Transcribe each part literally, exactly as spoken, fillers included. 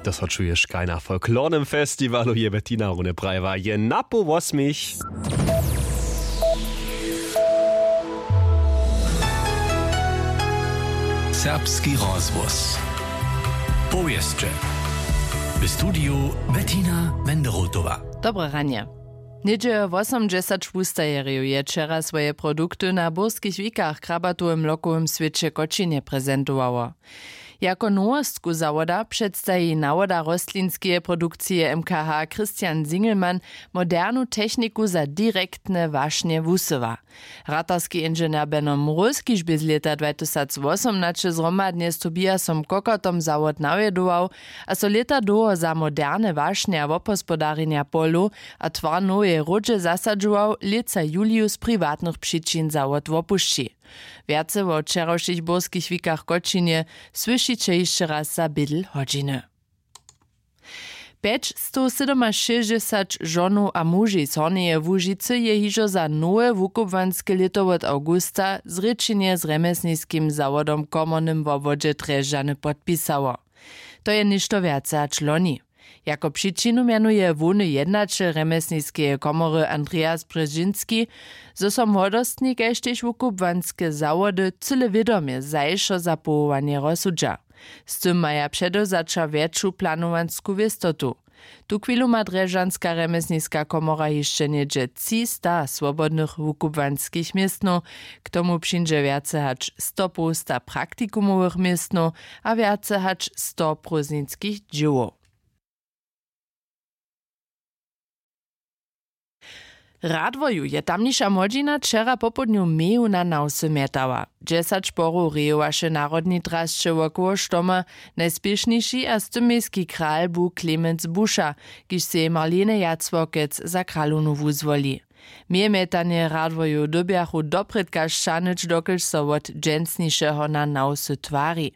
To so čuješ kaj na folklornym festiwalu, je Bettina Rune prajiła, je na poł wosmich. Serbski rozhłos. Powěsće. W studiju Bettina Wenderotowa. Dobre ranje. Něhdźe wosomdźesać wustajerjow je wčera swoje produkty na burskich wikach w krabatowym lokowym swěće w Kočinje prezentowało. Jako nowostku zawoda předstaji nawoda rostlinskeje produkcije M K H Christian Singelmann modernu techniku za direktne wašnje wusyła. Ratarski inženjer Beno Mróz, kiž bě z lěta dwatysacwosomnaće zhromadnje z Tobiasom Kokotom zawod nawjedował a so lěta dołho za moderne wašnje a wobhospodarjenja polow a twar noweje hródźe zasadźował, lětsa juliju z priwatnych přičin zawod wopušći. Wjace wo wčerawšich burskich wikach w Kočinje słyšiće hišće raz za bědl hodźiny. Pjećstowsydomašěsćdźesać žonow a muži z Hornjeje Łužicy je hižo za nowe wukubłanske lěto wot awgusta zrěčenje z rjemjesniskim zawodom w komornym wobwodźe Drježdźany podpisało. To je něšto wjace hač loni. Jako přičinu mjenuje hłowny jednaćel rjemjesniskeje komory Andreas Brzežinski, zo so młodostni kaž tež wukubłanske zawody cyle wědomje zašo za powołanje rozsudźa. Z tym maja předewzaća wjetšu planowansku wěstotu. Tuchwilu ma drježdźanska rjemjesniska komora hišće něhdźe třista swobodnych wukubłanskich městnow, k tomu přińdźe wjace hač stopołsta praktikumowych městnow a wjace hač sto prózdninskich dźěłow. W Radworju je tamniša młodźina wčera popołdnju meju na nawsy mjetała. Dźesać porow rejowaše w narodnej drasće wokoło štoma, najspěšniši a stymbejski kral bu Klemenc Buša, kiž sej Marlene Jacławkec za kralownu wuzwoli. Mejemjetanje Radworjow dyrbjachu doprědka šćahnyć, dokelž so wot dźensnišeho na nawsy twari.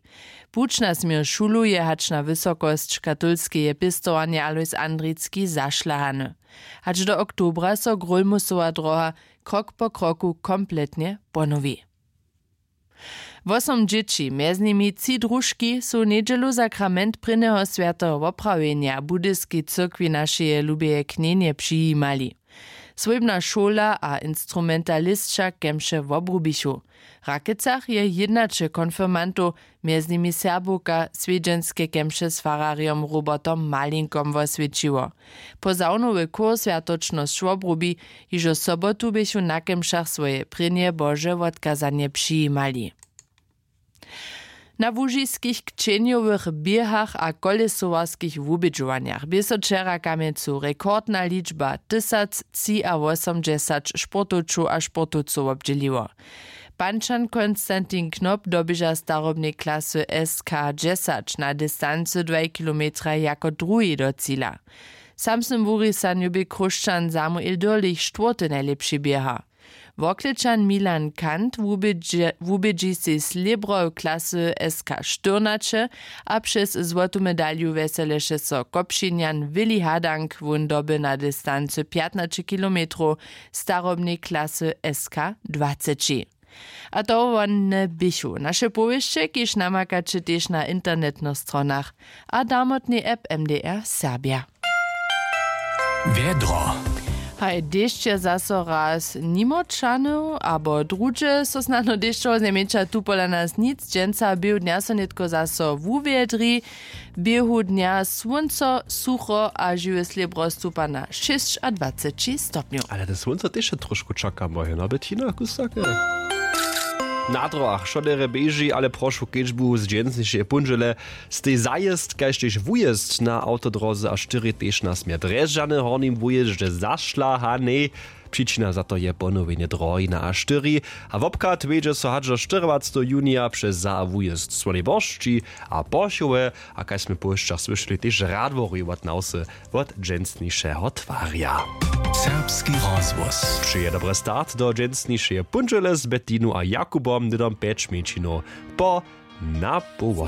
Puć na směr šulu je hač na wysokosć katolskeje pěstowarnje Alojs Andricki zašlahany. Hač do oktobra so Grólmusowa dróha krok po kroku kompletnje ponowi. Wosom dźěći, mjez nimi tři družki, su w njedźelu sakrament prěnjeho swjateho woprawjenja w budyskej cyrkwi našeje lubeje knjenje přijimali. Swójbna šola a instrumentalisća kemše wobrubichu. W Rakecach je jědnaće konfirmantow, mjez nimi Serbowka, swjedźenske kemše z fararjom Robertom Malinkom woswjećiło. Posawnowy chór swjatočnosć wobrubi. Hižo sobotu běchu na kemšach swoje prěnje bože wotkazanje přijimali. Na łužiskich kćenjowych běhach a kólesowarskich wubědźowanjach bě so wčera kamjencu rekordna ličba, tysactřiawosomdźesać sportowčow a sportowcow wobdźěliło. Pančan Konstantin Knop doběža w starobnej klasy S K dźesać na distancy dwaj kilometraj jako druhi do cila. W samsnym wurisanju bě Chróšćan Samuel Dürlich štwórty najlěpši běhar. Worklečan Milan Kant wubědźe- wubědźi sej slěbro w klasy S K štyrnaće a přez złotu medalju wjeseleše so Kopšinjan Willi Hadank. Wón doby na distancy pjatnaće kilometrow starobnej klasy S K dwaceći. A to wone běchu naše powěsće, kiž namakaće tež na internetnych stronach a damotnej app M D R Serbja. Wjedro. Haj, dešće zaso raz nimo čanył abo druhdźe so snano dešćowo znajmjeńša tu pola nas nic. Dźensa běhu dnja so nětko zaso wuwjedri. Běhu dnja słónco sucho a žiwe slěbro stupa na šěsćadwaceći stopnjow. Ale te słónco tež je trošku čakam, bo je na Bettina kusake. Na drogach wšoderje běži, ale prošu kedźbu z dźensnišeje póndźele stej zajězd kaž tež wujězd na awtodroze a štyri tež na směr Drježdźany w hornim wujězdźe zašlahanej. Přičina za to je ponowjenje drohi na a štyri a wobchad wjedźe so hač do štyrowacteho junija přez za a wujězd Słonej Boršći a Porchowy a kaž smy po wšćach słyšeli tež Radworju wot nawsy wot dźensnišeho twarja. Serbski rozhłos přeje dobry start do dźensnišeje póndźele z Bettinu a Jakubom hnydom pjeć mjeńšinow po na połło.